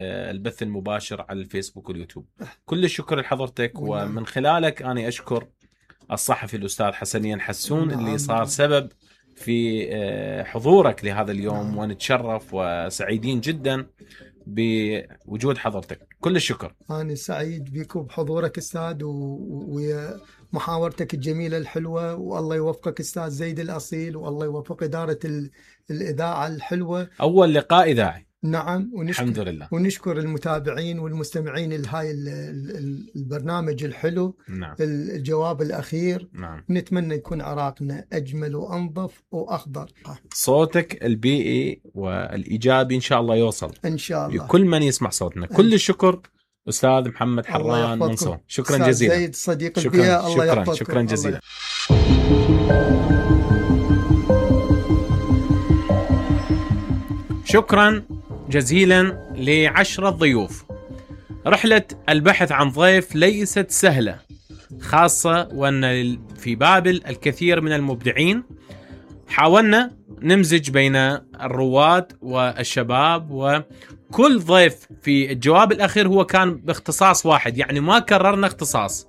البث المباشر على الفيسبوك واليوتيوب. كل الشكر لحضرتك، ومن خلالك أنا أشكر الصحفي الأستاذ حسنين حسون اللي صار سبب في حضورك لهذا اليوم، ونتشرف وسعيدين جدا بوجود حضرتك. كل الشكر. أنا سعيد بكم بحضورك أستاذ، ومحاورتك الجميلة الحلوة، والله يوفقك أستاذ زيد الأصيل، والله يوفق إدارة الإذاعة الحلوة. أول لقاء إذاعي. نعم، الحمد لله. ونشكر المتابعين والمستمعين لهاي البرنامج الحلو. نعم. الجواب الأخير. نعم. نتمنى يكون عراقنا أجمل وأنظف وأخضر. صوتك البيئي والإيجابي إن شاء الله يوصل إن شاء الله لكل من يسمع صوتنا. كل الشكر أستاذ محمد حران منصور. شكرا جزيلا. زيد صديق البيئة. الله يحفظكم. شكرا جزيلا. شكرا جزيلا ل10 ضيوف. رحلة البحث عن ضيف ليست سهلة، خاصة وأن في بابل الكثير من المبدعين. حاولنا نمزج بين الرواد والشباب، وكل ضيف في الجواب الأخير هو كان باختصاص واحد، يعني ما كررنا اختصاص.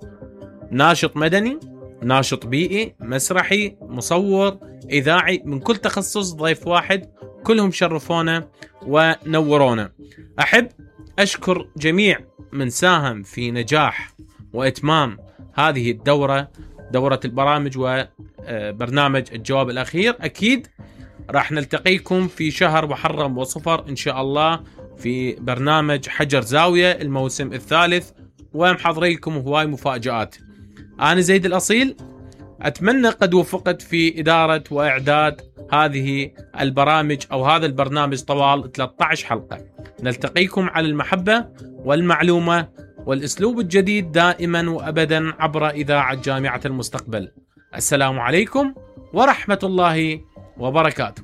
ناشط مدني، ناشط بيئي، مسرحي، مصور، إذاعي، من كل تخصص ضيف واحد. كلهم شرفونا ونورونا. أحب أشكر جميع من ساهم في نجاح وإتمام هذه الدورة، دورة البرامج وبرنامج الجواب الأخير. أكيد راح نلتقيكم في شهر محرم وصفر إن شاء الله في برنامج حجر زاوية الموسم الثالث، ومحضريكم هواي مفاجآت. أنا زيد الأصيل، أتمنى قد وفقت في إدارة وإعداد هذه البرامج أو هذا البرنامج طوال 13 حلقة. نلتقيكم على المحبة والمعلومة والأسلوب الجديد دائما وأبدا عبر إذاعة جامعة المستقبل. السلام عليكم ورحمة الله وبركاته.